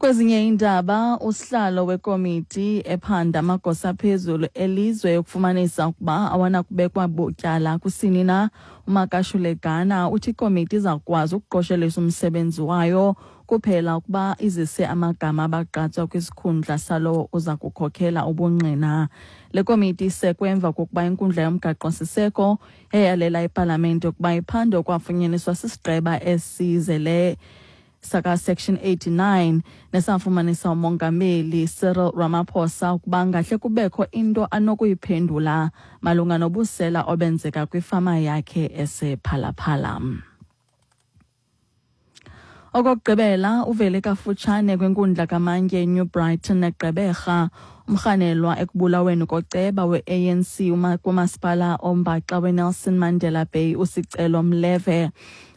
Kwezinye iindaba, usihlalo wekomiti ephanda amagosa aphezulu elizwe ukufumanisa ukuba awanakubekwa butyala kusini na, uMakashule Gana, uthi ikomiti iza kukwazi ukuqoshelisa umsebenzi wayo kuphela ukuba izise amagama abagqatswa kwisikhundla salowo uza kukhokela ubungqina. Le komiti isekwe emva kokuba inkundla yomgaqo-siseko eyalela ipalamente ukuba iphande okwafunyaniswa sisigqeba esizele saka-Section 89 nesafumanisa uMongameli Cyril Ramaphosa ukuba ngahle kubekho into anokuyiphendula malunga nobusela obenzeka kwifama yakhe esePhalaphala. Okokugqibela, uvele kafutshane kwinkundla kamantyi eNew Brighton eGqeberha umrhanelwa ekubulaweni koceba we-ANC kumasipala ombaxa weNelson Mandela Bay uSicelo Mleve.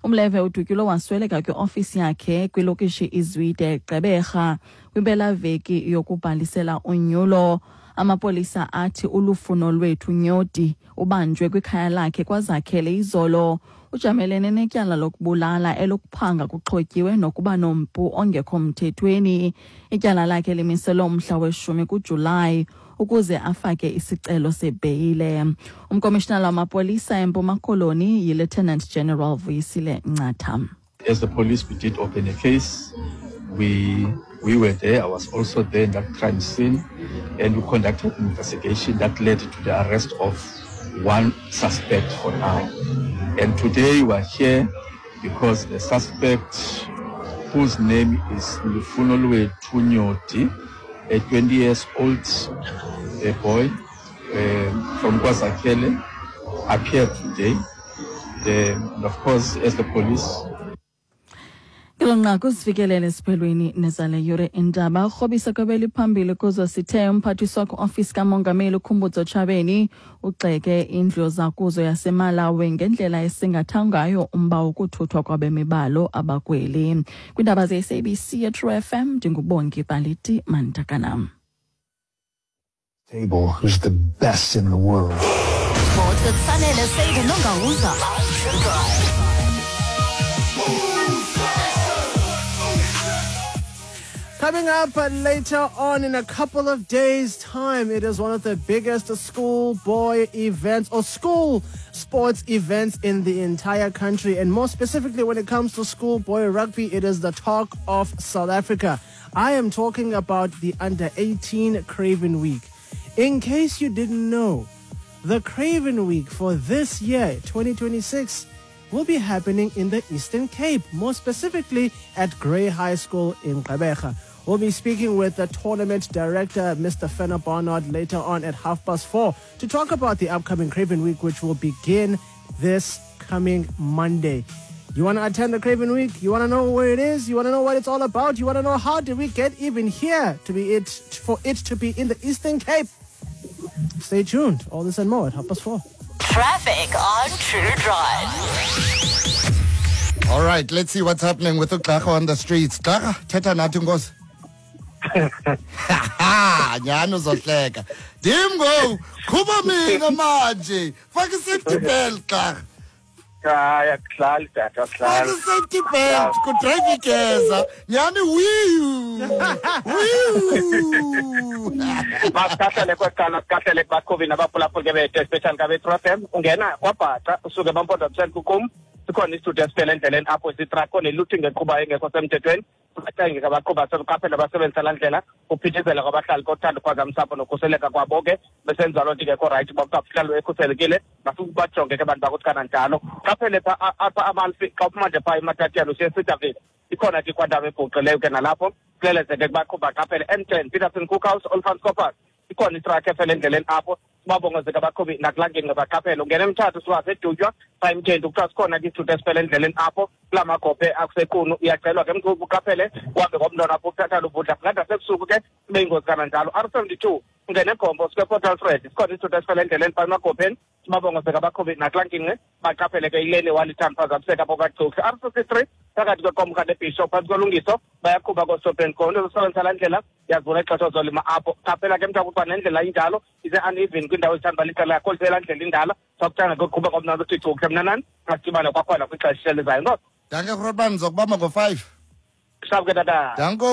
UMleve udutyulwe wasweleka kwiofisi yakhe kwilokishi iZwide eGqeberha kwimpelaveki yokubhalisela unyulo. Amapolisa athi uLufuno Lwethu Nyoti ubanjwe kwikhaya lakhe kwaZakhele izolo. Ujamelene netyala lokubulala, elokuphanga kuxhotyiwe nokuba nompu ongekho mthethweni. Ityala lakhe limiselwe umhla we-10 kuJulayi ukuze afake isicelo sebheyile. Umkomishinala wamapolisa eMpuma Koloni yiLieutenant General Vuyisile Ncatha. As the police, we did open a case. We were there. I was also there in that crime scene, and we conducted an investigation that led to the arrest of one suspect for now. And today we are here because the suspect, whose name is Lufunolwethu Nyoti, a 20 years old a boy from KwaZakhele, appeared today. And of course, as the police, Ngelo nqaku sifikelele esiphelweni nezale yure indaba. Urhobisa kwebeli phambili kuzo sithe umphathiswa kwi-ofisi kamongameli uKhumbudzo Tshabeni ugxeke indlu zakuzo yaseMalawi ngendlela esingatha ngayo umba wokuthuthwa kwabemi balo abakweli. Kwiindaba ze-SABC yeTrue FM, ndinguBongi Baliti Mantakana. Table, who's the best in the world. Sports with Sanele Seyide Nongawuza. Coming up later on in a couple of days' time, it is one of the biggest schoolboy events or school sports events in the entire country. And more specifically, when it comes to schoolboy rugby, it is the talk of South Africa. I am talking about the Under 18 Craven Week. In case you didn't know, the Craven Week for this year, 2026, will be happening in the Eastern Cape, more specifically at Grey High School in Gqeberha. We'll be speaking with the tournament director, Mr. Fenner Barnard, later on at 4:30 to talk about the upcoming Craven Week, which will begin this coming Monday. You want to attend the Craven Week? You want to know where it is? You want to know what it's all about? You want to know how did we get even here to be it for it to be in the Eastern Cape? Stay tuned. All this and more at 4:30. Traffic on True Drive. All right, let's see what's happening with uGxarha on the streets. Gxarha, thetha nathi nkosi. Nyhani uzohleka. Ndim ngoku, qhuba mina manje. Faka i-safety belt, Gxarha. Hayi, akuhlali tata, Faka akuhlali. I-safety belt, kudrayiva igeza. Nyhani wiyu. Wiyu. Masikahlele kweqala, sikahlele kubaqhubi nabaphulaphuli ke bethu, especially kabe-True FM. Ungena kwaBhaca usuke eMampondamiseni kukum, sikhona isithuthi esifele endleleni apho, isitrak ne-looting eqhubayo engekho semthethweni. Bacenge ke abaqhuba sebeqaphela basebenzisa laa ndlela. Kuphithizela kwabahlali kothanda uphazamisa nokhuseleka kwabo ke besenza loo nto ingekho right, uba kuthiwa kuhlalwe ekhuselekile. Bafike bajonge ke abantu bakuthi kananjalo qaphele pha apha Amalfi, xa uphuma nje phaa eMatatiana usiya eCedarville, ikhona ke ikwandawo ebhuqileyo ke nalapho. Kuleleze ke kubaqhuba qaphele. M10 Peterson Cookhouse Olifants Koppers, ikhona itrakhi efele endleleni apho. Sibabongozeke abaqhubi nakulaa ngingqi baqaphele. Ungena eMthatha usuka seDutywa phaa eMtshenti, kuthiwa sikhona ke isithuthi esifele endleleni apho kulaa magophe akuseQunu. Uyacelwa ke mqhubi uqaphele, uhambe ngomntwana apho ukuthatha uvudla kungada sebusuku ke kube yingozi kananjalo. R72 ungena eGompo usuka ePort Alfred, sikhona isithuthi esifele endleleni phaa emagopheni. Sibabongozeke abaqhubi nakulaa ngingqi baqaphele ke. Ileni Walltown phazamiseka apho kwaGcuhla. R63 phakathi kweQomrha neBishop phantsi kolungiso, bayaqhuba koo-stop and go. Into zosebenzisa laa ndlela yazibona ixesha ozolima apho. Qaphela ke mntu ukuba nendlela injalo ise-uneven kwiindawo ezithanda uba licala kakhulu, selaa ndlela indala sakuthanda koqhuba ngomnandi uthi cuhle. Mna nani masidibane kwakhona kwixesha elizayo. Nkosi. Dankie, Grootman, ndizokubamba ngo-5. Sharp ke tata. Danko.